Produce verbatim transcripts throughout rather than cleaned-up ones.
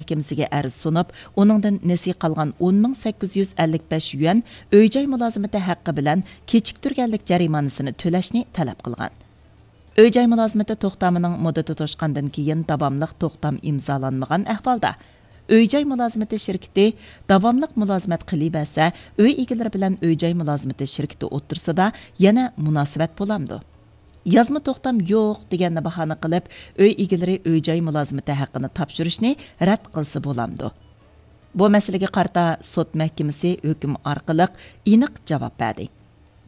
مەھكىمىسىگە ئەرز سۇنۇپ، ئۇنىڭدىن نېسى قالغان ئون مىڭ سەككىز يۈز ئەللىك بەش يۈەن ئۆي-جاي مۇلازىمىتى ھەققى بىلەن كېچىكتۈرگەنلىك جەرىمانىسىنى تۆلەشنى تەلەپ قىلغان. ئۆي-جاي مۇلازىمىتى توختامىنىڭ مۇددىتى توشقاندىن كېيىن داۋاملىق توختام ئىمزالانمىغان ئەھۋالدا، ئۆي-جاي مۇلازىمىتى شىركىتى داۋاملىق مۇلازىمەت قىلىۋەرسە، ئۆي ئىگىلىرى بىلەن ئۆي-جاي مۇلازىمىتى شىركىتى ئوتتۇرىسىدا يەنە مۇناسىۋەت بولامدۇ؟ يازما توختام يوق دېگەننى باھانە قىلىپ، ئۆي ئىگىلىرى ئۆي-جاي مۇلازىمىتى ھەققىنى تاپشۇرۇشنى رەت قىلسا بولامدۇ؟ بۇ مەسىلىگە قارىتا سوت مەھكىمىسى ھۆكۈم ئارقىلىق ئېنىق جاۋاب بەردى.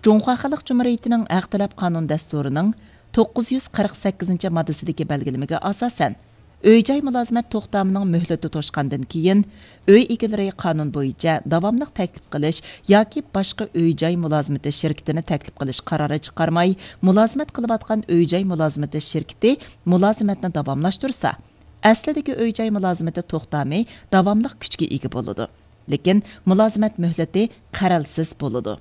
جۇڭخۇا خەلق جۇمھۇرىيىتىنىڭ ھەق تەلەپ قانۇن دەستۇرىنىڭ توققۇز يۈز قىرىق سەككىزىنچى ماددىسىدىكى بەلگىلىمىگە ئاساسەن، ئۆي-جاي مۇلازىمەت توختامىنىڭ مۆھلىتى توشقاندىن كېيىن، ئۆي ئىگىلىرى قانۇن بويىچە داۋاملىق تەكلىپ قىلىش ياكى باشقا ئۆي-جاي مۇلازىمىتى شىركىتىنى تەكلىپ قىلىش قارارى چىقارماي، مۇلازىمەت قىلىۋاتقان ئۆي-جاي مۇلازىمىتى شىركىتى مۇلازىمەتنى داۋاملاشتۇرسا، ئەسلىدىكى ئۆي-جاي مۇلازىمىتى توختامى داۋاملىق كۈچكە ئىگە بولىدۇ. لېكىن مۇلازىمەت مۆھلىتى قەرەلسىز بولىدۇ.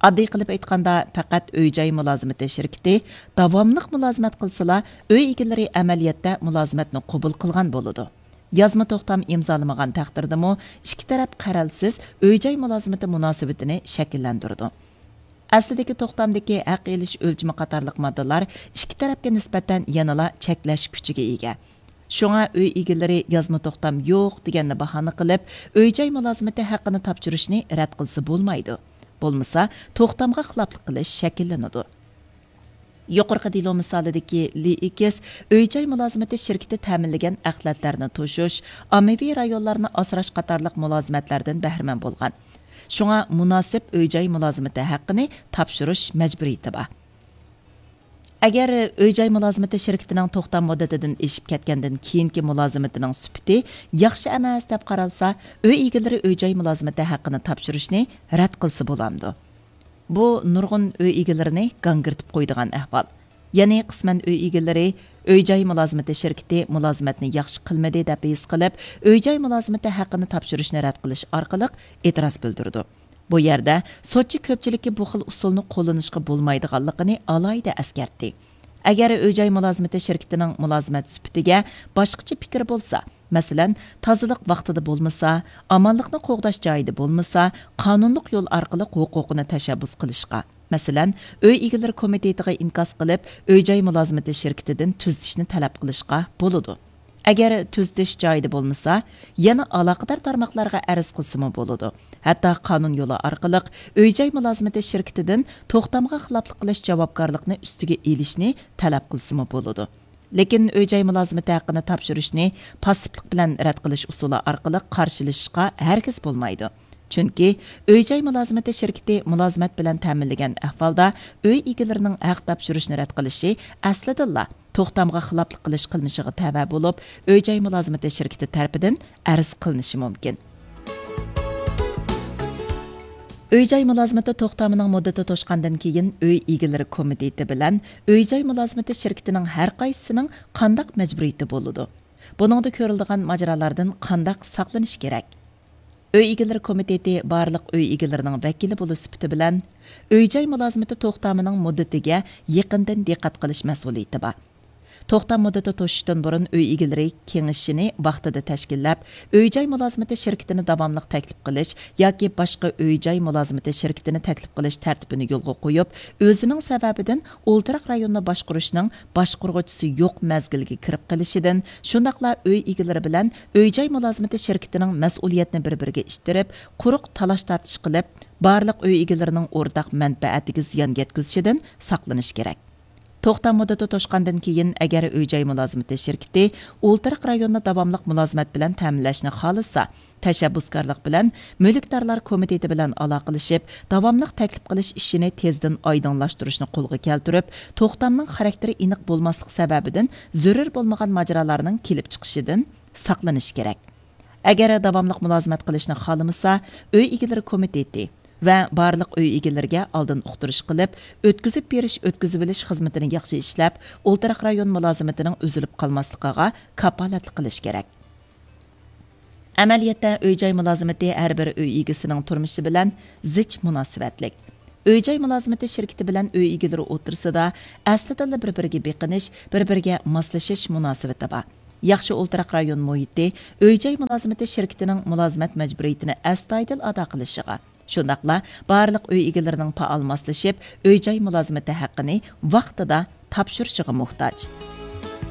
ئاددىي قىلىپ ئېيتقاندا، پەقەت ئۆي-جاي مۇلازىمىتى شىركىتى داۋاملىق مۇلازىمەت قىلسىلا، ئۆي ئىگىلىرى ئەمەلىيەتتە مۇلازىمەتنى قوبۇل قىلغان بولىدۇ. يازما توختام ئىمزالىمىغان تەقدىردىمۇ، ئىككى تەرەپ قەرەلسىز ئۆي-جاي مۇلازىمىتى مۇناسىۋىتىنى شەكىللەندۈرىدۇ. ئەسلىدىكى توختامدىكى ھەق ئېلىش ئۆلچىمى قاتارلىق ماددىلار ئىككى تەرەپكە نىسبەتەن يەنىلا چەكلەش كۈچىگە ئىگە. شۇڭا ئۆي ئىگىلىرى يازما توختام يوق دېگەننى باھانە قىلىپ، ئۆي-جاي مۇلازىمىتى ھەققىنى تاپشۇرۇشنى رەت قىلسا بولمايدۇ. بولمىسا، توختامغا خىلاپلىق قىلىش شەكىللىنىدۇ. يۇقىرىقى دېلو مىسالىدىكى لى ئىكىس ئۆي-جاي مۇلازىمىتى شىركىتى تەمىنلىگەن ئەخلەتلەرنى توشۇش، ئاممىۋى رايونلارنى ئاسراش قاتارلىق مۇلازىمەتلەردىن بەھرىمەن بولغان. شۇڭا مۇناسىپ ئۆي-جاي مۇلازىمىتى ھەققىنى تاپشۇرۇش مەجبۇرىيىتى بار. ئەگەر ئۆي-جاي مۇلازىمىتى شىركىتىنىڭ توختام مۇددىتىدىن ئېشىپ كەتكەندىن كېيىنكى مۇلازىمىتىنىڭ سۈپىتى ياخشى ئەمەس دەپ قارالسا، ئۆي ئىگىلىرى ئۆي-جاي مۇلازىمىتى ھەققىنى تاپشۇرۇشنى رەت قىلسا بولامدۇ؟ بۇ نۇرغۇن ئۆي ئىگىلىرىنى گاڭگىرىتىپ قويىدىغان ئەھۋال. يەنى قىسمەن ئۆي ئىگىلىرى ئۆي-جاي مۇلازىمىتى شىركىتى مۇلازىمەتنى ياخشى قىلمىدى دەپ ھېس قىلىپ، ئۆي-جاي مۇلازىمىتى ھەققىنى تاپشۇرۇشنى رەت قىلىش ئارقىلىق ئېتىراز بىلدۈرىدۇ. بۇ يەردە سوتچى كۆپچىلىككە بۇ خىل ئۇسۇلنى قوللىنىشقا بولمايدىغانلىقىنى ئالاھىدە ئەسكەرتتى. ئەگەر ئۆي-جاي مۇلازىمىتى شىركىتىنىڭ مۇلازىمەت سۈپىتىگە باشقىچە پىكىر بولسا، مەسىلەن، تازىلىق ۋاقتىدا بولمىسا، ئامانلىقنى قوغداش جايىدا بولمىسا، قانۇنلۇق يول ئارقىلىق ھوقۇقىنى تەشەببۇس قىلىشقا، مەسىلەن، ئۆي ئىگىلىرى كومىتېتىغا ئىنكاس قىلىپ، ئۆي-جاي مۇلازىمىتى شىركىتىدىن تۈزىتىشنى تەلەپ قىلىشقا بولىدۇ. ئەگەر تۈزىتىش جايىدا بولمىسا، يەنە ئالاقىدار تارماقلارغا ئەرز قىلسىمۇ بولىدۇ. ھەتتا قانۇن يولى ئارقىلىق ئۆي-جاي مۇلازىمىتى شىركىتىدىن توختامغا خىلاپلىق قىلىش جاۋابكارلىقىنى ئۈستىگە ئېلىشنى تەلەپ قىلسىمۇ بولىدۇ. لېكىن ئۆي-جاي مۇلازىمىتى ھەققىنى تاپشۇرۇشنى پاسسىپلىق بىلەن رەت قىلىش ئۇسۇلى ئارقىلىق قارشىلىشىشقا ھەرگىز بولمايدۇ. چۈنكى ئۆي-جاي مۇلازىمىتى شىركىتى مۇلازىمەت بىلەن تەمىنلىگەن ئەھۋالدا ئۆي ئىگىلىرىنىڭ ھەق تاپشۇرۇشنى رەت قىلىشى ئەسلىدىنلا توختامغا خىلاپلىق قىلىش قىلمىشىغا تەۋە بولۇپ، ئۆي-جاي مۇلازىمىتى شىركىتى تەرىپىدىن ئەرز قىلىنىشى مۇمكىن. ئۆي-جاي مۇلازىمىتى توختامىنىڭ مۇددىتى توشقاندىن كېيىن، ئۆي ئىگىلىرى كومىتېتى بىلەن ئۆي-جاي مۇلازىمىتى شىركىتىنىڭ ھەر قايسىسىنىڭ قانداق مەجبۇرىيىتى بولىدۇ؟ بۇنىڭدا كۆرۈلىدىغان ماجىرالاردا قانداق ساقلىنىش كېرەك؟ ئۆي ئىگىلىرى كومىتېتى بارلىق ئۆي ئىگىلىرىنىڭ ۋەكىلى بولۇش سۈپىتى بىلەن، ئۆي-جاي مۇلازىمىتى توختامىنىڭ مۇددىتىگە يېقىندىن دىققەت قىلىش مەسئۇلىيىتى بار. توختام مۇددىتى توشۇشتىن بۇرۇن ئۆي ئىگىلىرى كېڭىشىنى ۋاقتىدا تەشكىللەپ، ئۆي-جاي مۇلازىمىتى شىركىتىنى داۋاملىق تەكلىپ قىلىش ياكى باشقا ئۆي-جاي مۇلازىمىتى شىركىتىنى تەكلىپ قىلىش تەرتىپىنى يولغا قويۇپ، ئۆزىنىڭ سەۋەبىدىن ئولتۇراق رايوننى باشقۇرۇشنىڭ باشقۇرغۇچىسى يوق مەزگىلگە كىرىپ قېلىشىدىن، شۇنداقلا ئۆي ئىگىلىرى بىلەن ئۆي-جاي مۇلازىمىتى شىركىتىنىڭ مەسئۇلىيەتنى بىر-بىرىگە ئىتتىرىپ، قۇرۇق تالاش-تارتىش قىلىپ، بارلىق ئۆي ئىگىلىرىنىڭ ئورتاق مەنپەئەتىگە زىيان يەتكۈزۈشىدىن ساقلىنىش كېرەك. توختام مۇددىتى توشقاندىن كېيىن، ئەگەر ئۆي-جاي مۇلازىمىتى شىركىتى ئولتۇراق رايوننى داۋاملىق مۇلازىمەت بىلەن تەمىنلەشنى خالىسا، تەشەببۇسكارلىق بىلەن مۈلۈكدارلار كومىتېتى بىلەن ئالاقىلىشىپ، داۋاملىق تەكلىپ قىلىش ئىشىنى تېزدىن ئايدىڭلاشتۇرۇشنى قولغا كەلتۈرۈپ، توختامنىڭ خاراكتېرى ئېنىق بولماسلىق سەۋەبىدىن زۆرۈر بولمىغان ماجىرالارنىڭ كېلىپ چىقىشىدىن ساقلىنىش كېرەك. ئەگەر داۋاملىق مۇلازىمەت قىلىشنى خالىمىسا، ئۆي ئىگىلىرى كومىتېتى ۋە بارلىق ئۆي ئىگىلىرىگە ئالدىن ئۇقتۇرۇش قىلىپ، ئۆتكۈزۈپ بېرىش، ئۆتكۈزۈۋېلىش خىزمىتىنى ياخشى ئىشلەپ، ئولتۇراق رايون مۇلازىمىتىنىڭ ئۈزۈلۈپ قالماسلىقىغا كاپالەتلىك قىلىش كېرەك. ئەمەلىيەتتە، ئۆي-جاي مۇلازىمىتى ھەر بىر ئۆي ئىگىسىنىڭ تۇرمۇشى بىلەن زىچ مۇناسىۋەتلىك. ئۆي-جاي مۇلازىمىتى شىركىتى بىلەن ئۆي ئىگىلىرى ئوتتۇرىسىدا ئەسلىدىنلا بىر-بىرىگە بېقىنىش، بىر-بىرىگە ماسلىشىش مۇناسىۋىتى بار. ياخشى ئولتۇراق رايون مۇھىتى ئۆي-جاي مۇلازىمىتى شىركىتىنىڭ مۇلازىمەت مەجبۇرىيىتىنى ئەستايىدىل ئادا قىلىشىغا، شۇنداقلا بارلىق ئۆي ئىگىلىرىنىڭ پائال ماسلىشىپ، ئۆي-جاي مۇلازىمىتى ھەققىنى ۋاقتىدا تاپشۇرۇشىغا موھتاج.